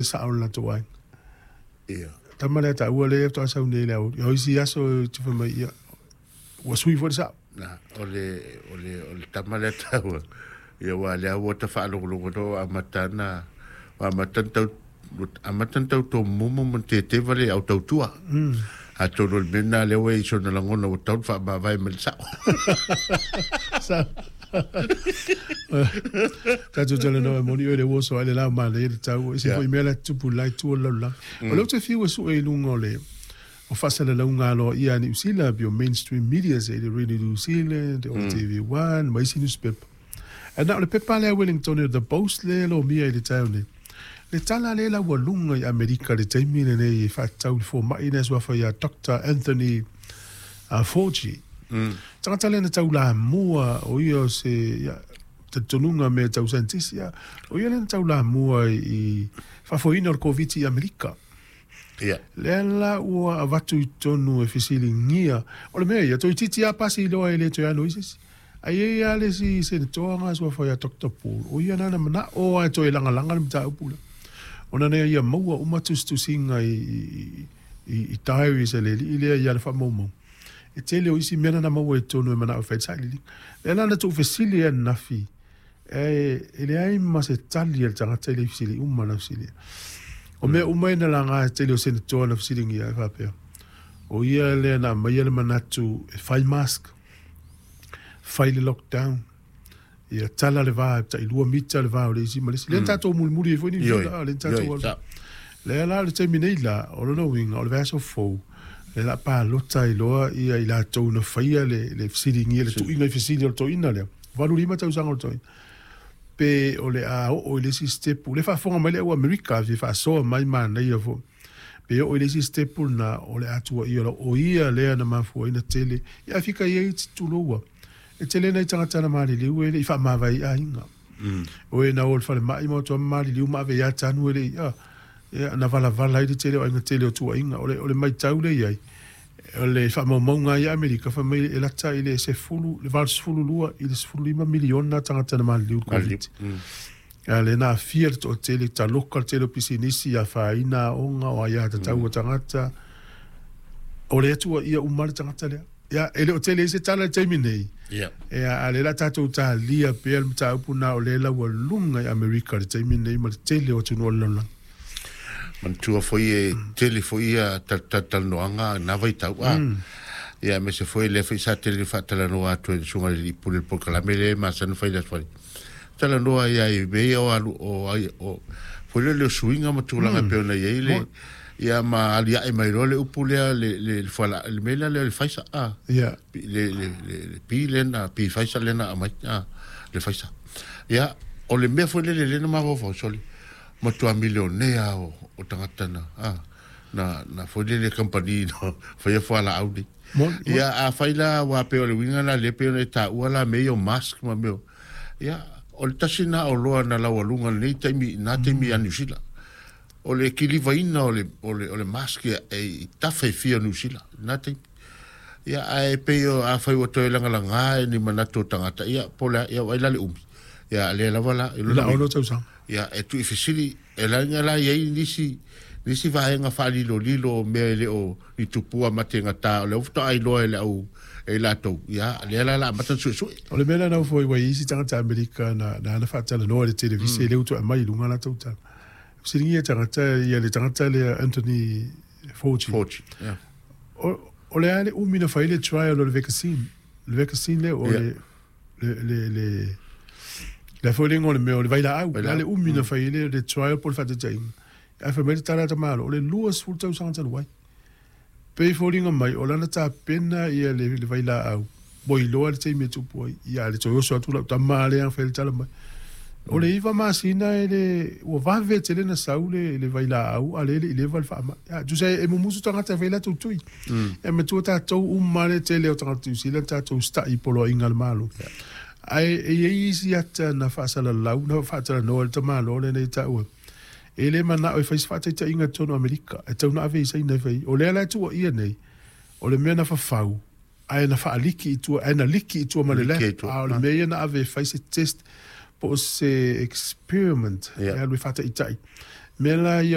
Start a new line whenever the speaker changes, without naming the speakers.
Sao le latou aiga.
Ia.
Tama lea taua lea faatoa sau nei i le aoauli. O isi aso e te fai mai, ia, ua sui foi le sao.
Na, o le, o le, o le tama lea taua, ia aua lea ua ta faalogologo loa ua amata ona, ua amata ona tau, ua amata ona tau tomumu ma teteva le au tautua. Atonu o le mea lena lea ua i ai sona lagona ua tatau ona faamavae mai le sao.
Sao. Tatou talanoa e moni oe le uoso ai le lao manaia le tau. E se foi mea la tupu la i tua o le lalolagi. O lea ou te fiu e sue i luga o le o faasalalauga aloaia a Niu Sila pei o mainstream media se i le Radio New Zealand, o le TV1 ma isi nusipepa. Ae na o le pepa lea a Wellington o The Post lea e lomia i le taeao nei. Le tala lea e laualuga i Amerika i le taimi lenei e faatatau i le fomai lea suafa ia Doctor Anthony Fauci. Tagata lea na taulamua o ia o se ia, talitonuga mea tau saienitisi, ia, o ia lea na taulamua i faafoeina o le Koviti i Amerika.
Ia.
Lea la ua avatu i totonu e fesiligia, o le mea ia, toeitiiti lava pasi loa e le toe ano i se isi. Ae i ai lava le isi Senetoa na suafa ia Doctor Paul, o ia na na manao lava e toe lagalaga le mataupu lea, ona na ia maua uma tusitusiga i diaries a le alii lea i ana faamaumauga. E tele o isi mea na na maua i totonu e manao e fai ai le sailiiliga. Lea la na tuufesili ai ananafi, e leai ma se tali a le tagata i le fesili uma na fesili. O mea uma ia na laga e tele o Senetoa na fesiligia e faapea, o ia lea na aumaia le manatu e fai mask, fai le lockdown, ia tala le va, tai 2 mita le va o le isi ma le isi. Lea na tatou mulimuli ai foi Niu Sila, lea na tatou alu. Lea la o le taimi nei la, o lona uiga o le vaiaso fou, lea o le a palota ai loa ia i latou na faia le fesiligia, le tuuina i fesili o le toeaina lea, 85 tausaga o le toeaina, pe o le a oo i le isi sitepu. O lea e faafofoga mai le au Amerika, fia faasoa mai manaia foi. Pe oo i le isi sitepu lena, o le a tuuaia loa, o ia lea na mafua ai ona tele. Ia ae fika i ai tulou e tele nai tagata na maliliu e le i faamavae i aiga. O e na o i le falemai ma o atu lava ma maliliu ma ave ia tanu e le i, ia, na valavala ai le tele o aiga tele o tuuaiga. O le, o le matau lea i ai, o le faamaumauga lava ia Amerika, fai mai e lata i le 10, le 82 i le 15 miliona tagata na maliliu i le Koviti. A lea na aafia le toatele, taloka le tele o pisinisi, afaina aoga, o aiatatau a tagata. O lea tuuaia uma le tagata lea. Ia, e le o tele ai se tala i le taimi nei.
Ia.
Ia, a o lea o le a tatou talia pea le mataupu lena o lea e laualuga i Amerika i le taimi lenei ma le tele o atunuu o le lalolagi.
Manatua foi e tele foi ia talatalanoaga i na vaitau a. Ia aemaise foi lea foi sa tele faatalanoa atu e le Susuga i le Alii Pule i le polokalame lea e masani ona fai i le Aso Faraile. Talanoa ai lava i mea ia o alu o ai o foi lele o suiga ma tulaga e pei ona i ai le ia ma aliae mai loa le upu lea le le le fuala le mea lea le Pfizer a.
Ia.
Le le le le pi lea na pi Pfizer lea na aumai a le Pfizer. Ia o le mea foi lele lea na mafaufau sole matua milionea o o tagata na a na na foi lele kamupani na faia fualaau nei. Ia afai la aua pei o le uiga la lea pei ona e taua la mea ia o mask ma mea o Ia, o le tasi lena oloa na laualuga i lenei taimi, i na taimi ia Niu Sila. O le kilivaina o le, o le, o le mask e, e i tafa e fia o Niu Sila, i na taimi. Ia, ae pei o, afai ua toe lagalaga e ni manatu o tagata, ia, po o le a, ia, vaai la le umi. Ia, lea lava la, i
lona uiga. tausaga.
Ia, e tuuifesili, e laga la i ai nisi, nisi vaega faalilolilo o mea e le o ni tupua mategata, o lea ua faatoa iloa e le au, e i latou, ia, lea la o le a amata ona suesue.
O le mea lea na ofo ai, ua i ai isi tagata Amerika na, na ana faatalanoa i le televise, lea ua toe aumai i luga latou tala. Fesiligia tagata, ia le tagata lea Anthony Fauci.
Fauci, yeah.
O, o le a le umi na fai ai le trial o le vaccine, le vaccine lea o le, le, le, le, le a foi le igoa o le mea o le vailaau, o le a le umi na fai ai le, le trial po o le faataitaiga. Ae fai mai le tala a tamaloa, o le 20 tausaga talu ai. Pei e foliga mai o lana tapena ia le, le vailaau, ua iloa le taimi e tupu ai. Ia, a le toe oso atu lau tama lea fai le tala mai. O le 9 masina e le, ua vave tele na sau le, le vailaau, a lea e le i leva le faamai. Ia, tusa e mumusu tagata e fai latou tui. E matua tatou uma le tele o tagata Niu Sila tatou usitai i poloaiga a le Malo. Ae e i ai isi ata na faasalalau, na faatalanoa e le tamaloa lenei e taua. E le manao e fai se faataitaiga i totonu o Amerika, e tatau ona ave i Saina e fai. O lea la e tuuaia nei, o le mea na fafau, ae na faaliki i tua, ae na liki i tua ma le lab, a o le mea ia na ave e fai se test po o se experiment, e alu e faataitai. Mea la ia.